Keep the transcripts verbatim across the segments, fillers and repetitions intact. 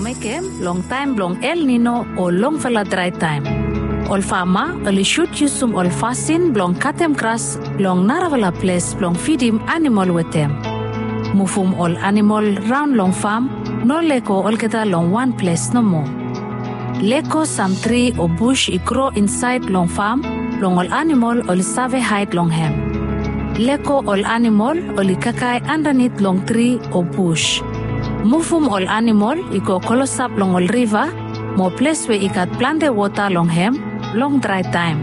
Mekem long taem blong El Nino o longfala drae taem. Ol fama oli sud yusum ol fasin blong katem gras long narafala ples blong fidim anamol wetem. Muvum ol anamol raon long fam, no lego olgeta long wan ples nomo. Lego sam tri o bus i gro insaed long fam blong ol anamol oli save haed long hem. Lego ol anamol oli kakae andanit long tri o bus. Muvum ol anamol i go klosap long ol riva mo ples we i gat plante wota long hem long drae taem.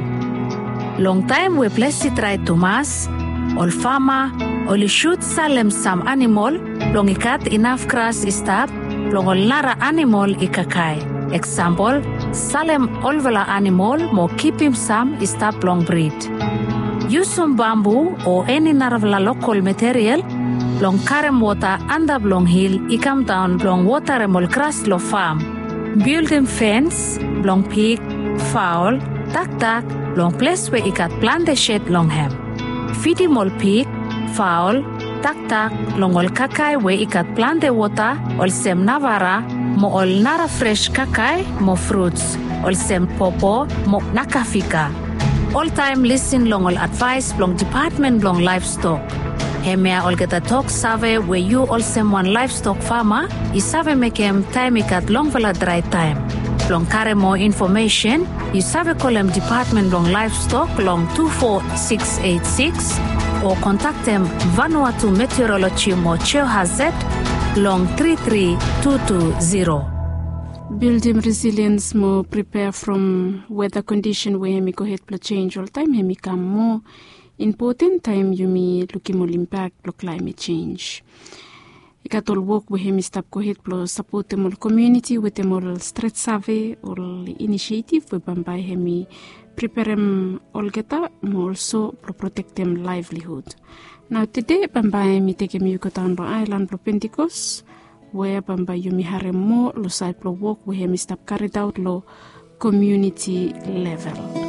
Long taem we ples i drae tumas, ol fama oli sud salem sam anamol blong i gat inaf gras i stap blong ol nara anamol i kakae. Eksampol, salem olfala anamol mo kipim sam i stap blong brid. Yusum bambu o eni narafala lokol material blong karem wota antap long hil i kamdaon blong wotarem ol gras long fam. Bildim fens blong pig, faol, dakdak long ples we i gat plante sed long hem. Fidim ol pig, faol, dakdak long ol kakae we i gat plante wota olsem navara mo ol nara fres kakae mo fruts olsem popo mo nakafika. Oltaem lisin long ol advaes blong Dipatmen blong Laevstok. Hemia olgeta tok save we yu olsem wan laevstok fama i save mekem taem i gat longfala drae taem. Blong karem moa infomesen, yu save kolem Dipatmen blong Laevstok long tu fo siks eit siks o kontaktem Vanuatu Meteoroloji mo Geohazard long tri tri tu tu ziro. Bildim resiliens mo pripea from weta kondisen we hem i gohed blong jenj oltaem, hem i kam moa impoten taem yumi lukim ol impak blong klaemet jenj. I gat ol wok we hem i stap gohed blong sapotem ol komuniti wetem ol stret save, ol inisietif we bambae hem i preperem olgeta mo olso blong protektem laevlihud. Nao tede bambae mi tekem yu godaon long aelan blong Pentikos, we bambae yumi harem moa long saed blong wok we hem i stap karidaot long komuniti level.